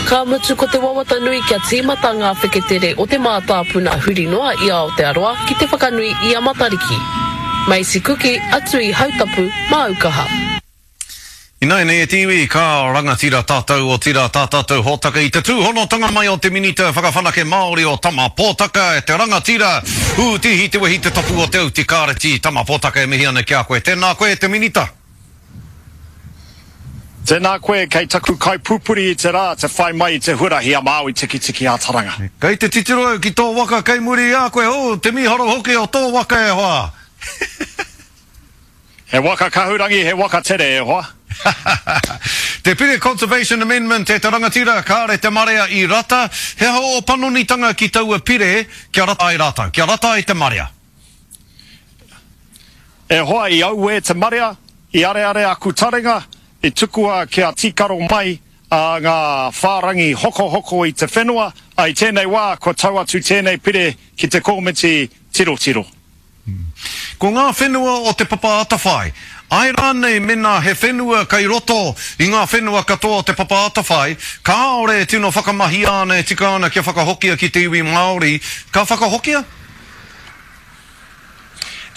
Ka mutu ko te wawata nui kia tīmata ngā wheketere o te mātāpuna huri noa i Aotearoa ki te whakanui i a Matariki. Macy Kuki, atu i Hautapu, māu kaha. Ināianei e te iwi, ka rangatira tātou, otirā tā tātou hōtaka i te tūhonotanga mai o te Minita Whakawhanake Māori o Tama Pōtaka, e te rangatira, ūtihi te wehi te tapu o te auti kāreti, Tama Pōtaka e mihi ana ki a koe. Tēnā koe e te Minita. Tēnā koe, kei taku kaipupuri i te rā te whai mai i te huarahi a Māui Tikitiki a Taranga. Kei te titiro au ki tō waka kei muri i a koe, oh, te mīharo hoki o tō waka e hoa! He waka kahurangi, he waka tere e hoa. Te Pire Conservation Amendment e te rangatira, kāre te marea i rata, he aha ō panonitanga ki taua pire kia rata ai rātou, kia rata ai te marea? E hoa, i auē te marea, i areare aku taringa, i tukua kia tīkaro mai a ngā whārangi hokohoko i te whenua, a i tēnei wā kua tau atu tēnei pire ki te kōmiti tirotiro. Ko ngā whenua o Te Papa Atawhai, āe rānei mēnā he whenua kei roto i ngā whenua katoa o Te Papa Atawhai, kāore e tino whakamahia ana e tika ana kia whakahokia ki te iwi Māori, ka whakahokia?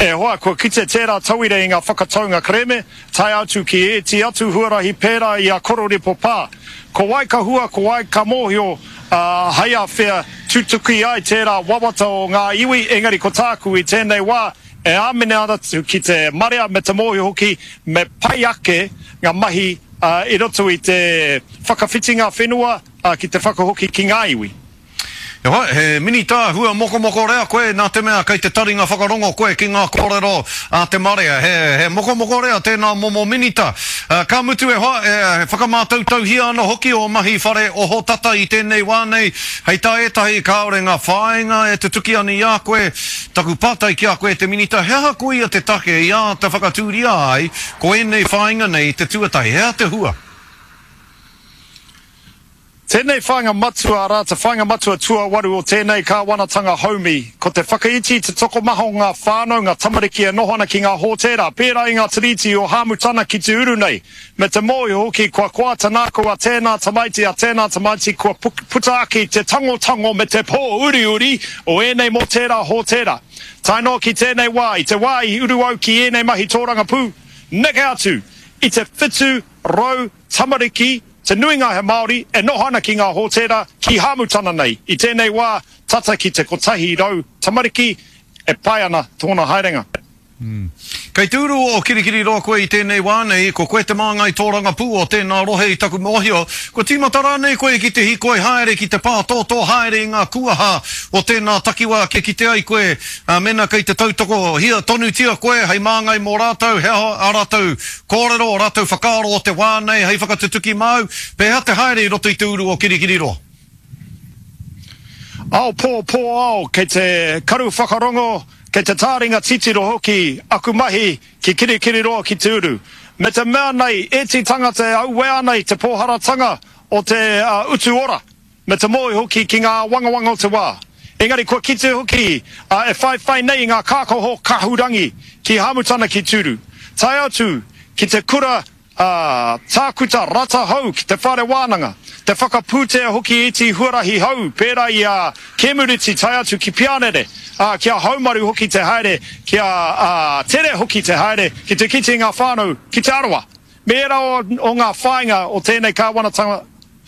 E hoa, kua kite tērā tauira i ngā whakataunga kerēme, tae atu ki ēti atu huarahi pērā i a Kororipo Pā. Ko wai ka hua, ko wai ka mōhio, ā, hei a whea tutuki ai tērā wawata o ngā iwi, engari ko tāku i tēnei wā, e āmine ana ki te marea me te mōhio hoki me pai ake ngā mahi i roto i te whakawhitinga whenua ki te whakahoki ki ngā iwi. E hoa, he minita hua mokomoko rea koe nā te mea kei te taringa whakarongo koe ki ngā kōrero a te marea. He, he mokomoko rea tēnā momo minita. Ka mutu e hoa, e whakamātautauhia ana hoki ō mahi whare ohotata i tēnei wā nei. Hei tā ētahi kāore ngā whāinga e tutuki ana i a koe. Taku pātai ki a koe e te minita, he aha koia te take i āta whakatūria ai ko ēnei whāinga nei te tuatahi? He aha te hua? Tēnei whāinga matua, arā, te whāinga matua tuawaru o tēnei kāwanatanga haumi, ko te whakaiti i te tokomaha o ngā whānau, ngā tamariki e noho ana ki ngā hōtēra, pērā i ngā tiriti o Hāmutana ki te uru nei, me te mōhio hoki kua koa te nākau a tēnā tamaiti, a tēnā tamaiti kua puta ake i te tangotango me te pōuriuri o ēnei mō tērā hōtēra. Tae noa ki tēnei wā, i te wā i uru au ki ēnei mahi tōrangapū, neke atu i te 700 tamariki, Te nuinga he Māori e noho ana ki ngā hōtēra ki Hāmutana nei. I tēnei wā, tata ki te 100 tamariki e pai ana tōna haerenga. Kei te uru o Kirikiriroa koe i tēnei wā nei, ko koe te māngai tōrangapū o tēnā rohe i taku mōhio. Kua tīmata rānei koe ki te hīkoi haere, ki te pātōtō haere i ngā kuaha o tēnā takiwā kia kite ai koe, mēnā kei te tautokohia tonutia koe hei māngai mō rātou, he aha ā rātou Kōrero ō rātou whakaaro o te wā nei hei whakatutuki māu, pēhea te haere i roto i te uru o Kirikiriroa? Ao pō, pō ao, kei te karu whakarongo, kei te tāringa titiro hoki aku mahi ki Kirikiriroa ki te uru. Me te mea nei, ēti tangata e auē ana i te pōharatanga o te utu ora. Me te mōhio hoki ki ngā āwangawanga o te wā. Engari kua kite hoki a e whaiwhai nei i ngā kākaho kahurangi ki Hāmutana ki Tūru. Tae atu ki te kura a Tākuta Rata Hou ki te whare wānanga, te whakapūtea hoki iti huarahi hou pērā i a Kēmuriti tae atu ki Pianere, ā, kia haumaru hoki te haere, kia tere hoki te haere ki te kite i ngā whānau ki Te Arawa. Me ērā o ngā whāinga o tēnei kāwanatanga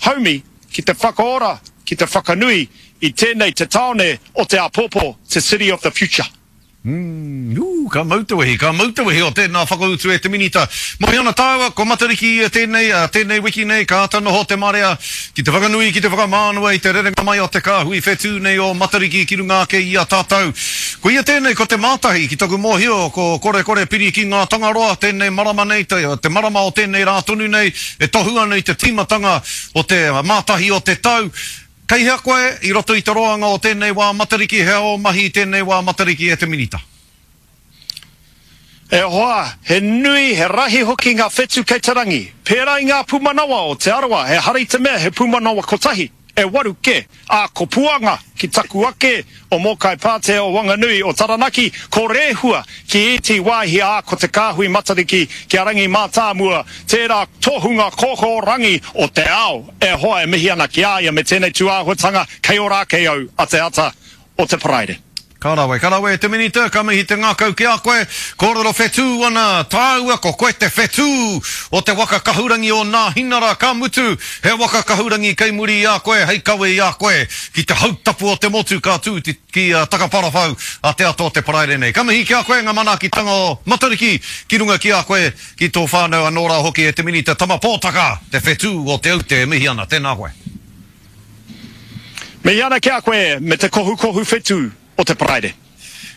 haumi ki te whakaora, ki te whakanui i tēnei te tāone o te āpōpō, te city of the future. Ū, ka mau te wehi, ka mau te wehi o tēnā whakautu e te Minita. Moe ana tāua, ko Matariki ia tēnei, ā, tēnei wiki nei, ka āta noho te marea ki te whakanui, ki te whakamānawa i te rerenga mai o te kāhui whetū nei o Matariki ki runga ake i a tātou. Ko ia tēnei, ko te mātahi, ki taku mōhio, ko Korekore piri ki ngā Tangaroa, tēnei marama nei, te, te marama o tēnei rā tonu nei, e tohu ana i te tīmatanga o te mātahi o te tau. Kei hea koe i roto i te roanga o tēnei wā Matariki, he aha ō mahi i tēnei wā Matariki e te Minita? E hoa, he nui, he rahi hoki ngā whetu kei te rangi. Pērā i ngā pūmanawa o Te Arawa, ehara i te mea he pūmanawa kotahi. E waru ke, a ko Puanga ki taku ake, o Mōkai Pātea o Wanganui, o Taranaki, ko Rehua ki ēti wāhi ā ko te kāhui Matariki ki a Rangi Mātāmua, tērā tohunga kōkōrangi o te ao e hoa e mihi ana ki a ia me tēnei tūāhuatanga kei Ōrākei au a te ata o te Paraire. Ka rawe, ka rawe e te Minita, ka mihi te ngākau ki a koe. Kōrero whetū ana tāua, ko koe te whetū o te waka kahurangi o Nāhinara, ka mutu, he waka kahurangi kei muri i a koe hei kawe i a koe ki te hautapu o te motu ka tū ki Takaparawhau a te ata o te Paraire nei. Ka mihi ki a koe ngā manaakitanga o Matariki ki runga ki a koe, ki tō whānau anō rā hoki e te Minita Tama Pōtaka, te whetū o Te Aute e mihi ana. Tēnā koe. Mihi ana ki a koe me te kohukohu whetū o te Paraire.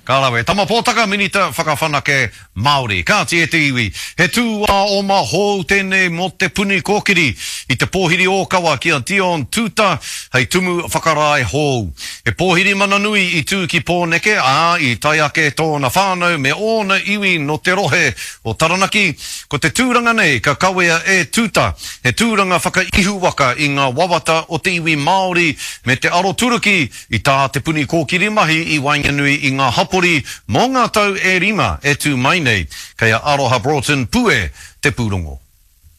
Ka rawe. Tama Pōtaka, Minita Whakawhanake Māori. Kāti e te iwi, he tūāoma hou tēnei mō Te Puni Kōkiri i te pōhiri ōkawa ki a Dion Tuuta hei tumu whakarae hou. He pōhiri mana nui i tū ki Pōneke, ā, i tae ake tōna whānau me ōna iwi nō te rohe o Taranaki. Ko te tūranga nei ka kawea e Tuuta, he tūranga whakaihuwaka i ngā wawata o te iwi Māori me te aroturuki i tā Te Puni Kōkiri mahi i waenganui i ngā hapori mō ngā tau e rima e tū mai nei. Kei a Aroha Broughton Pue te pūrongo.